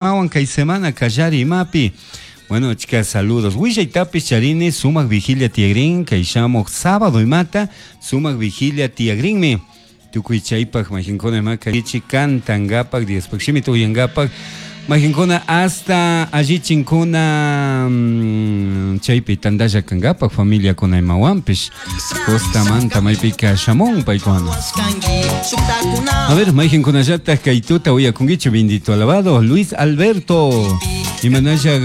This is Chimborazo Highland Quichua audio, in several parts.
Awan kay semana kallari imapi. Bueno, chicas, saludos. Willaytapis charini, sumaq vigilia tiyagrin, kay shamuq sábado imata, sumaq vigilia tiyagrinmi. Tukuy chaypaq majinkuna imaka ichi kantangapak, Diospaq shimita uyangapak, majinkuna hasta allichinkuna chaypi tantalla kangapak familiakuna imawanpish. Costamanta maypika shamun paykuna. A ver, mayqinkunallataq kay tuta uyakunkichu bendito alabado Luis Alberto. Imanalla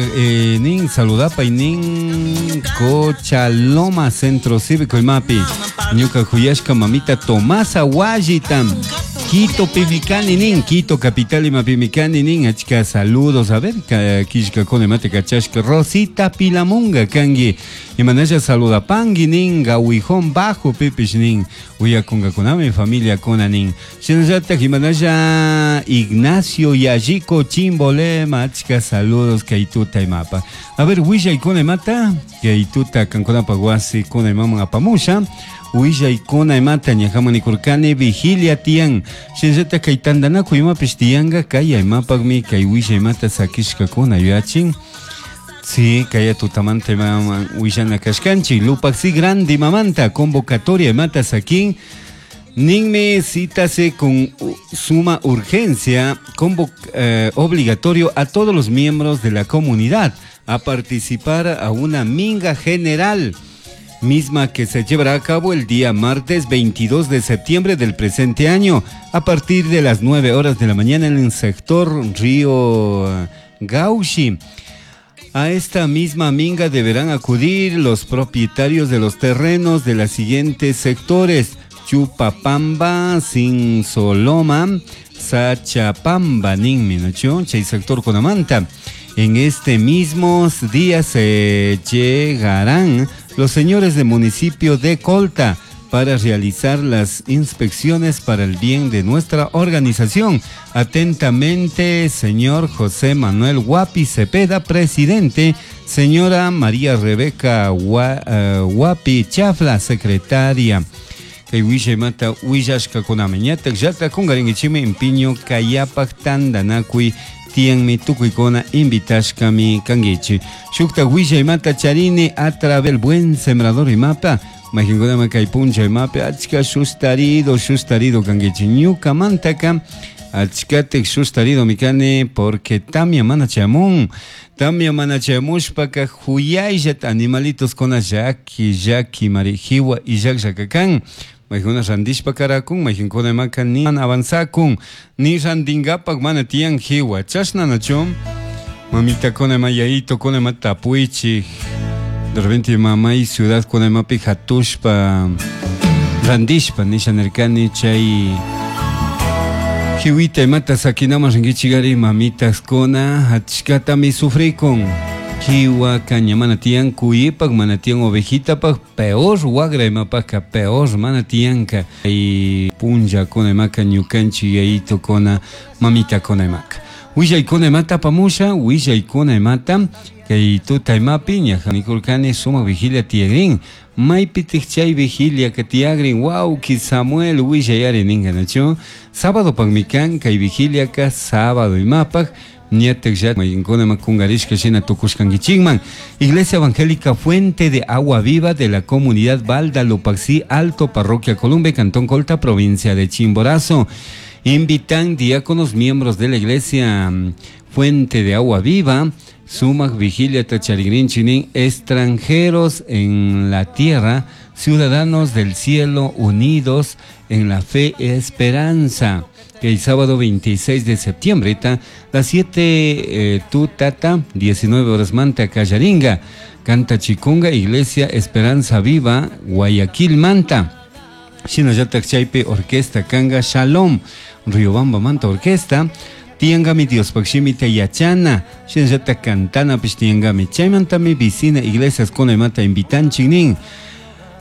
nin saludapay nin Cochaloma Centro Cívico imapi. Ñuka kuyashka mamita Tomasa Wallitam. Quito pimikani nin, Quito capital imapimi kani nin, achka saludos, a ver, killkakuna imata kachashka Rosita Pilamunga kanki. Imanalla saludapanki nin, Gawijón Bajo pipish nin, uyakungakunami familiakuna nin. Shinallatak imanalla Ignacio Yallico Chimbolema, achka saludos kay tuta imapa. A ver, willaykuna imata, kay tuta kankunapaq wasikuna imaman apamusha. Willaykuna imata ñajaman nikurkani vigilia tiyan. Shinallatak kay tantanakuy imapish tiyanka, kay imapakmi kay willay imata sakishkakuna yuyachin. Sí, kaya tutamanta imaman willana kashkanchik. Lupaxi grande imamanta convocatoria imata sakin. Ninmi cítase con suma urgencia obligatorio a todos los miembros de la comunidad a participar a una minga general, misma que se llevará a cabo el día martes 22 de septiembre del presente año, a partir de las 9 horas de la mañana en el sector Río Gauchi. A esta misma minga deberán acudir los propietarios de los terrenos de los siguientes sectores: Chupapamba, Sinsoloma, Sachapamba, ninmi, ¿no? Chay sector Conamanta. En este mismo día se llegarán los señores del municipio de Colta para realizar las inspecciones para el bien de nuestra organización. Atentamente, señor José Manuel Guapi Cepeda, presidente, señora María Rebeca Guapi Chafla, secretaria. Kay willay mata willashkakunami ñatak llata kunkarinkichikmi empiño kayapak tantanakuy tiyanmi tukuykuna invitashkami kankichik. Shukta willay mata charini a través del buen sembrador imapa. Mayqinkunama kay puncha imapi achka sustarido, sustarido kankichik. Ñukamantaka achkatik sustarido mi kani porque tamia mana chayamun. Tamia mana chayamushpaka huyayllata animalitos kuna llaki, llaki mari jiwa illakllaka kan. Mayqina randishpa karakun, mayqinkuna imaka ni mana avanzakun, ni randinkapak mana tiyan jiwa. Chashna nachu, mamitakuna ima yayitokuna ima tapuychik. De repente mamay ciudad kuna imapi hatushpa randishpa nisha nirkani chay jiwita imata sakinaman rinkichikari mamitaskuna achkatami sufrikun. Jiwa caña mana tiyan kuyipak, mana tiyan ovejitapak, peor wagra imapaka, peor mana tiyanka. Y punlla kuna imaka ñukanchik yayito kuna mamita kuna imaka. Willaykuna imata apamusha, willaykuna imata kay tuta imapi ñaja nikurkani sumak vigilia tiyagrin. Maypitik chay vigilia ka tiyagrin, wawki Samuel willayari ninka nachu. Sábado pakmi kan kay vigilia ka sábado imapak. Ñatak ya mayqinkuna ima kunkarishka shina tukushkankichikman. Iglesia Evangélica Fuente de Agua Viva de la Comunidad Balda Lupaxi Alto, Parroquia Columbe, Cantón Colta, provincia de Chimborazo. Invitan diáconos miembros de la Iglesia Fuente de Agua Viva, Sumac Vigilia Tacharigrin extranjeros en la tierra, ciudadanos del cielo unidos en la fe y esperanza. Que el sábado 26 de septiembre, ta, las 7 tu tata, 19 horas manta Callaringa, Canta Chicunga, Iglesia Esperanza Viva, Guayaquil Manta. Shinallatak chaypi Orquesta Kanga Shalom, Riobamba Manta Orquesta, Tiangami Diospaq shimita yachana, shinallatak cantanapish tiangami. Chaymantami vicina iglesias kunamanta invitanchik nin.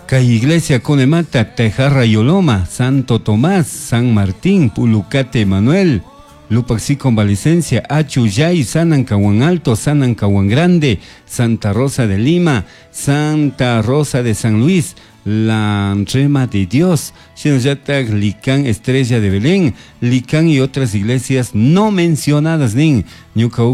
Kay iglesia kunamanta Tejarra Yoloma, Santo Tomás, San Martín, Pulucate Manuel, Lupaxi Convalecencia, Achuyay, Sanancahuán Alto, Sanancahuán Grande, Santa Rosa de Lima, Santa Rosa de San Luis, La Rema de Dios, shinallatak Licán Estrella de Belén, Licán y otras iglesias no mencionadas nin. Ñuka.